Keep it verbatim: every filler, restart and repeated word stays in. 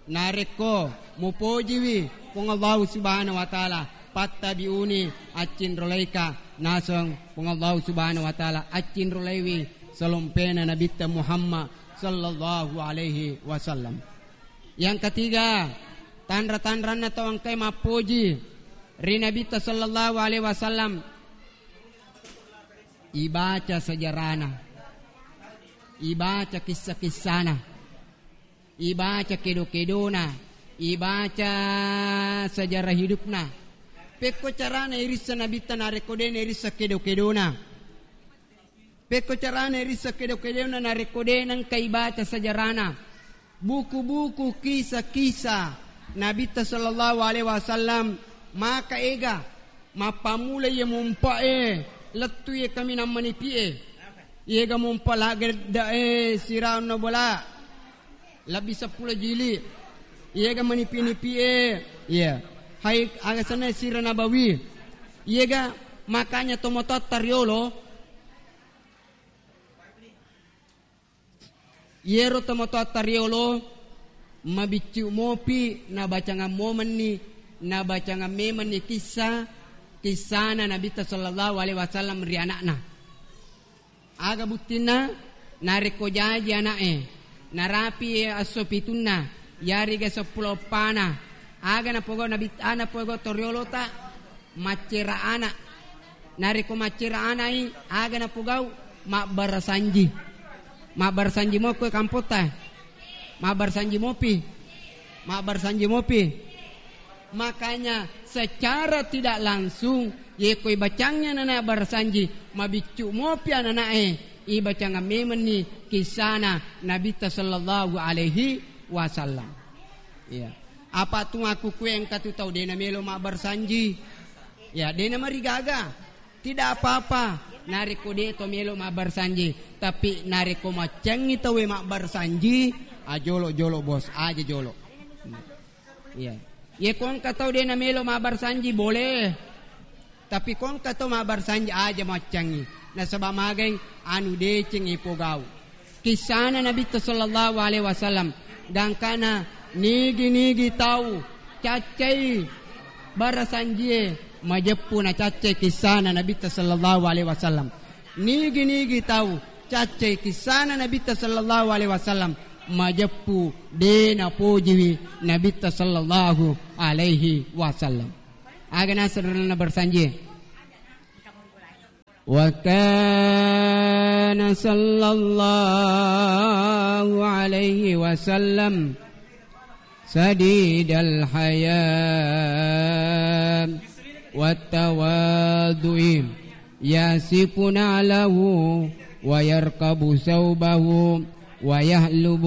Narekko mupojiwi Puang Allahu Subhanahu wa Ta'ala, "Fattabi'uni", accinrolaika naseng Puang Allahu Subhanahu wa Ta'ala, accinrolaiwi salompena Nabitta Muhammad sallallahu alaihi wasallam. Yang ketiga, tanra-tanranna tau engkae mappoji ri Nabitta sallallahu alaihi wasallam, ibaca sejarana, ibaca kissa-kissana, ibaca kedo-kedona, ibaca sejarah hidupna. Pekko carana irissa Nabitta narekko de nairissa kedo-kedona. Pekko carana irissa kedo-kedona narekko de nengka ibaca sejarana. Buku-buku kisah-kisah Nabitta sallallahu alaihi wasallam maka ega mappammula iye mumpa'e lettu iye kaminang manipi'e. Iyega mumpa lagedda e siraunna bola. Lebbi seppulo jili. Iyega manipi-nipi e. Iya. Hai aga senna sira nabawi. Iyega makanya tomatoatta riolo. Iyero tomatoatta riolo mabiccu mopi nabacangang momenni nabacangang memenni kissa kissana Nabitta sallallahu alaihi wasallam ri anakna. Aga buttinna? Narekko jaji ana'e, narapi esso pitunna, yariga seppulo eppana, aga napogau nabi-, aga napogau toriolota? Maccera ana. Narekko maccera ana'i, aga napogau? Mabbarasanji. Mabbarasanji mokko kampotta. Mabbarasanji mopi. Mabbarasanji mopi. Makanya, secara tidak langsung, yekko ibacangngi anana barasanji, mabiccu mopi anana'e, ibacangnga memenni kissana Nabitta sallallahu alaihi wasallam. Iya. Apa tu aku kue engka tu tau dena melo mabbarasanji. Ya, dena marigaga. Tidak apa-apa. Narekko de to melo mabbarasanji, tapi narekko maccangngi tauwe mabbarasanji, ajolo-jolo bos, aja jolo. Iya. Ye ko engka tau de namelo mabbarasanji, boleh. Tapi ko engka tau mabbarasanji, aja maccangngi. Nasaba magai anu deceng ipogau. Kissana Nabitta sallallahu alaihi wasallam, gangkana nigi-nigi tau caccai barasanjie, majeppu nacaccai kissana Nabitta sallallahu alaihi wasallam. Nigi-nigi tau caccai kissana Nabitta sallallahu alaihi wasallam, majeppu de napojiwi Nabitta sallallahu alaihi wasallam. Aga naseng ronanna barasanjie? Wa kana sallallahu alaihi wasallam sadidal haya wat tawaddu'i, yasifu na'lahu wa yarkabu saubahu wa yahlubu